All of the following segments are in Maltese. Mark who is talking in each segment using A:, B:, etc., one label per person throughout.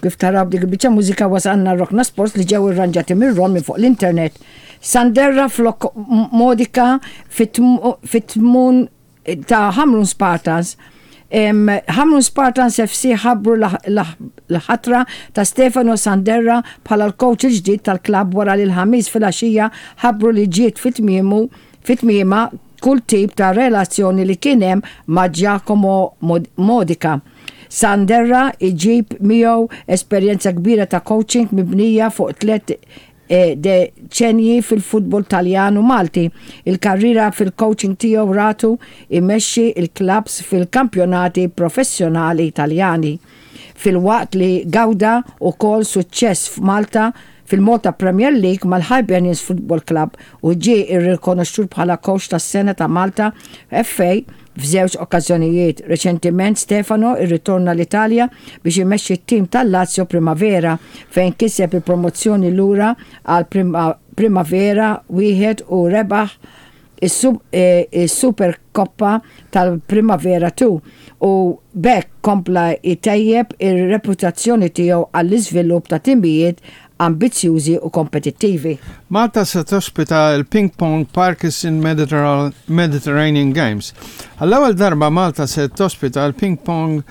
A: Kif taraw dik il-biċċa mużika wasalna Rokna Sports li ġew irranġati minn Ron minn fuq l-internet. Sanderra flok Modica fit-tmun ta' Ħamrun Spartans. Ħamrun Spartans FC ħabbru l-ħatra ta' Stefano Sanderra bħala l-coach il-ġdid tal-klabb wara li l-Ħamis filgħaxija ħabbru li ġiet fi tmiemu fi tmiemha kull tip ta' relazzjoni li kien hemm ma' Giacomo Modica. Sanderra jġib miegħu esperjenza kbira ta' coaching mibnija fuq tlett deċennji fil-futbol Taljan u Malti. Il-karriera fil-coaching tiegħu ratu jmexxi l-klabbs fil-kampjonati professjonali Taljani, filwaqt li gawda wkoll suċċess f'Malta fil-Malta Premier League mal-Hibernians Football Club u ġie rrikonoxxut bħala Coach tas-Sena ta' Malta FA f'żewġ okkażjonijiet. Reċentiment Stefano rritorna l-Italja biex imexxi t-tim tal-Lazio Primavera fejn kiseb il-promozzjoni lura għal Primavera wieħed u rebaħ is-Supercoppa tal-Primavera 2 u b'hekk kompla jtejjeb ir-reputazzjoni tiegħu għall-iżvilupp ta' timijiet ambizzjużi u kompetittivi.
B: Malta se tospita l-Ping Pong Parkinson Mediterranean Games. Għall-ewwel darba Malta se tospita l-Ping Pong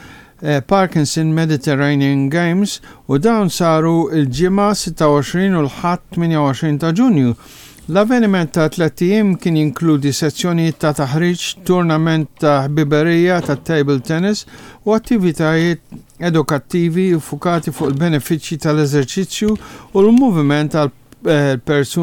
B: Parkinson Mediterranean Games u dawn saru l-Ġimgħa 26 u l-Ħadd 28 ta' Ġunju. L-avveniment ta' tlett ijiem kien jinkludi sezzjonijiet ta' taħriġ, tournament ta' ħbiberija tat-table tennis u attivitajiet edukattivi ffukati fuq il-benefiċċji tal-eżerċizzju u l-moviment għal persuni.